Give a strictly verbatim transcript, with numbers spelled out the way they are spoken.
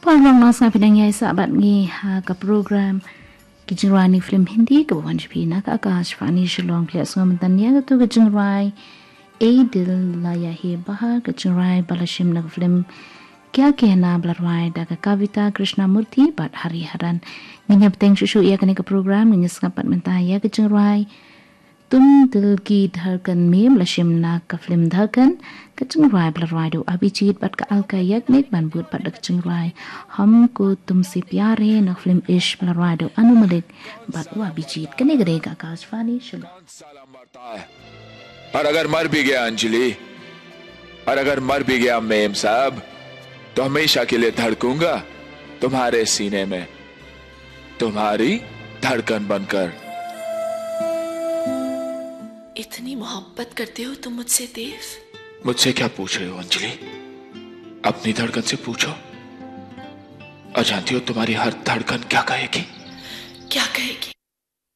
Paralok nongshakri, phi dang ïaisah bad ngi ha ka program Ki Jingrwai na ki Film Hindi kaba wan sha phi na ka Akashvani Shillong. Phi la sngap mynta ïa katu ka jingrwai Ei Dil Laya Hai Bahar, ka jingrwai ba la shim na ka film Kya Kehna ba la rwai da ka Kavita Krishnamurthy bad Hariharan. Ngin ïa bteng shuh shuh ïa kane ka program, ngin ïa sngap pat mynta ïa ka jingrwai Tum Dil Ki Dhadkan Mein ba la shim na ka film Dhadkan, ka jingrwai ba la rwai da u Abhijit bad ka Alka Yagnik, ban bud pat da ka jingrwai Humko Tumse Pyar Hai na ka film Ishq ba la rwai da u Anu Malik bad u Abhijit. Kane ka dei ka Akashvani Shillong. पाँच साल हम मरता है, और अगर मर भी गया अंजलि, और अगर मर भी गया मेम साहब, तो हमेशा के लिए धड़कूंगा तुम्हारे सीने में, तुम्हारी धड़कन बनकर। इतनी मोहब्बत करते हो तुम मुझसे, देव? मुझसे क्या पूछ रहे हो अंजलि? अपनी धड़कन से पूछो। और जानती हो, तुम्हारी हर धड़कन क्या कहेगी? क्या कहेगी?